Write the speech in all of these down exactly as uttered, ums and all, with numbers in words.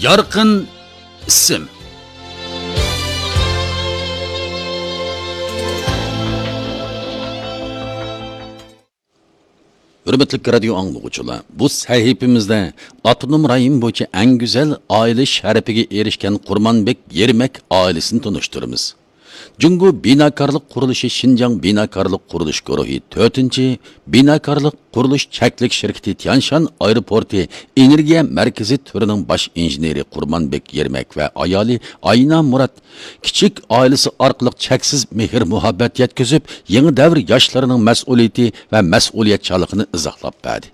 يارقىن ئىسىم. ھۆرمەتلىك رادىيو ئاڭلىغۇچىلار، بۇ سەھىپىمىزدە ئاپتونوم رايون بويىچە ئەڭ گۈزەل ئائىلە شەرىپىگە ئېرىشكەن قۇرمانبېك يېرمەك ئائىلىسىنى تونۇشتۇرىمىز. جۇڭگو بىناكارلىق قۇرۇلۇشى شىنجاڭ بىناكارلىق قۇرۇلۇش گۇرۇھى تۆتىنچى بىناكارلىق قۇرۇلۇش چەكلىك شىركىتى تيانشان ئايروپورتى ئېنېرگىيە مەركىزى تۈرىنىڭ باش ئىنژېنېرى قۇرمانبېك يېرمەك ۋە ئايالى ئاينا مۇرات كىچىك ئائىلىسى ئارقىلىق چەكسىز مېھىر-مۇھەببەت يەتكۈزۈپ، يېڭى دەۋر ياشلىرىنىڭ مەسئۇلىيىتى ۋە مەسئۇلىيەتچانلىقىنى ئىزاھلاپ بەردى.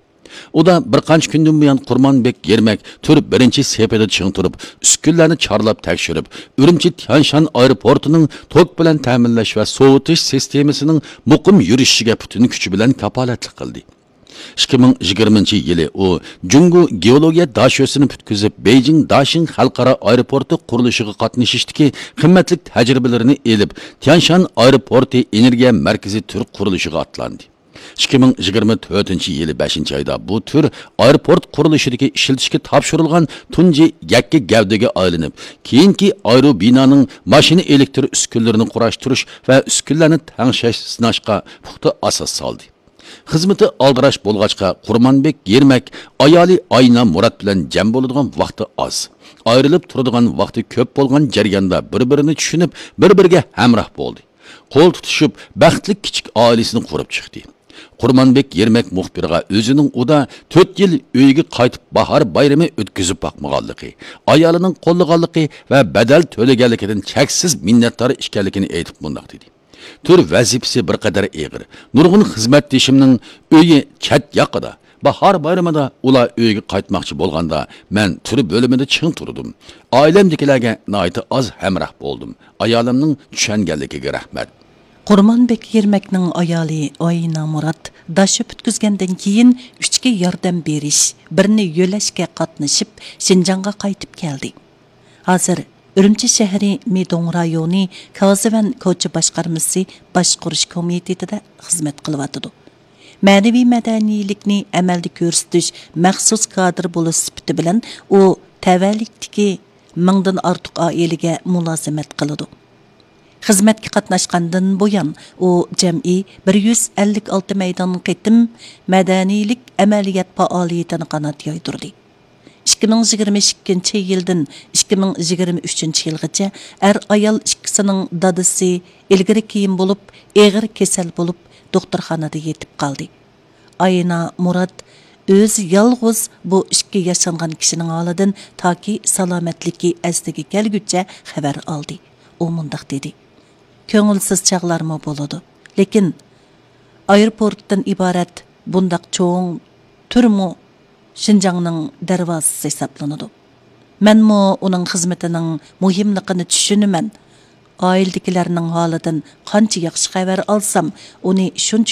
ئۇدا بىر قانچە كۈندىن بۇيان قۇرمانبېك يېرمەك تۈر بىرىنچى سېپىدا چىڭ تۇرۇپ، ئۈسكۈنىلەرنى چارلاپ تەكشۈرۈپ، ئۈرۈمچى تيانشان ئايروپورتىنىڭ توك بىلەن تەمىنلەش ۋە سوۋۇتۇش سىستېمىسىنىڭ مۇقىم يۈرۈشۈشىگە پۈتۈن كۈچى بىلەن كاپالەتلىك قىلدى. ئىككى مىڭ يىگىرمىنچى يىلى ئۇ جۇڭگو گېئولوگىيە داشۆسىنى پۈتكۈزۈپ، بېيجىڭ داشىڭ خەلقئارا ئايروپورتى قۇرۇلۇشىغا قاتنىشىشتىكى قىممەتلىك تەجرىبىلىرىنى ئېلىپ، تيانشان ئايروپورتى ئېنېرگىيە مەركىزى تۈر قۇرۇلۇشىغا ئاتلاندى. ئىككى مىڭ يىگىرمە تۆتىنچى يىلى بەشىنچى ئايدا بۇ تۈر ئايروپورت قۇرۇلۇشىدىكى ئىشلىتىشكە تاپشۇرۇلغان تۇنجى يەككە گەۋدىگە ئايلىنىپ، كېيىنكى ئايروبىنانىڭ ماشىنا ئېلېكتر ئۈسكۈنىلىرىنى قۇراشتۇرۇش ۋە ئۈسكۈنىلەرنى تەڭشەش، سىناشقا پۇختا ئاساس سالدى. خىزمىتى ئالدىراش بولغاچقا، قۇرمانبېك يېرمەك ئايالى ئاينا مۇرات بىلەن جەم بولىدىغان ۋاقتى ئاز، ئايرىلىپ تۇرىدىغان ۋاقتى كۆپ بولغان جەرياندا بىر-بىرىنى چۈشىنىپ، بىر-بىرىگە ھەمراھ بولدى. قول تۇتۇشۇپ، بەختلىك كىچىك ئائىلىسىنى قۇرۇپ چىقتى. قۇرمانبېك يېرمەك مۇخبىرغا ئۆزىنىڭ ئۇدا تۆت يىل ئۆيىگە قايتىپ باھار بايرىمى ئۆتكۈزۈپ باقمىغانلىقى، ئايالىنىڭ قوللىغانلىقى ۋە بەدەل تۆلىگەنلىكىدىن چەكسىز مىننەتدار ئىكەنلىكىنى ئېيتىپ مۇنداق دېدى: تۈر ۋەزىپىسى بىر قەدەر ئېغىر. نۇرغۇن خىزمەتدىشىمنىڭ ئۆيى چەت ياقىدا. باھار بايرىمىدا ئۇلار ئۆيىگە قايتماقچى بولغاندا، مەن تۈر بۆلۈمىدە چىڭ تۇردۇم. ئائىلەمدىكىلەرگە ناھايىتى ئاز ھەمراھ بولدۇم. ئايالىمنىڭ چۈشەنگەنلىكىگە رەھمەت. قۇرمانبېك يېرمەكنىڭ ئايالى ئاينا مۇرات داشا پۈتكۈزگەندىن كېيىن ئۈچكە ياردەم بېرىش، بىرنى يۆلەشكە قاتنىشىپ، شىنجاڭغا قايتىپ كەلدى. ھازىر ئۈرۈمچى شەھىرى مىدوڭ رايونى كازىۋەن كوچا باشقارمىسى باشقۇرۇش كومىتېتىدا خىزمەت قىلىۋاتىدۇ. مەنىۋى مەدەنىيلىكنى ئەمەلدە كۆرسىتىش مەخسۇس كادىر بولۇش سۈپىتى بىلەن ئۇ تەۋەلىكتىكى مىڭدىن ئارتۇق ئائىلىگە مۇلازىمەت قىلىدۇ. خىزمەتكە قاتناشقاندىن بۇيان، ئۇ جەمئىي بىر يۈز ئەللىك ئالتە مەيدان قېتىم مەدەنىيلىك ئەمەلىيەت پائالىيىتىنى قانات يايدۇردى. ئىككى مىڭ يىگىرمە ئىككىنچى يىلدىن ئىككى مىڭ يىگىرمە ئۈچىنچى يىلغىچە ئەر-ئايال ئىككىسىنىڭ دادىسى ئىلگىرى كېيىن بولۇپ، ئېغىر كېسەل بولۇپ، دوختۇرخانىدا يېتىپ قالدى. ئاينا مۇرات ئۆزى يالغۇز بۇ ئىككى ياشانغان كىشىنىڭ ھالىدىن تاكى سالامەتلىكى ئەسلىگە كەلگۈچە خەۋەر ئالدى. ئۇ مۇنداق دېدى: كۆڭۈلسىز چاغلارمۇ بولىدۇ. لېكىن ئايروپورتتىن ئىبارەت بۇنداق چوڭ تۈرمۇ شىنجاڭنىڭ دەرۋازىسى ھېسابلىنىدۇ. مەنمۇ ئۇنىڭ خىزمىتىنىڭ مۇھىملىقىنى چۈشىنىمەن. ئائىلىدىكىلەرنىڭ ھالىدىن قانچە ياخشى خەۋەر ئالسام، ئۇنى شۇنچە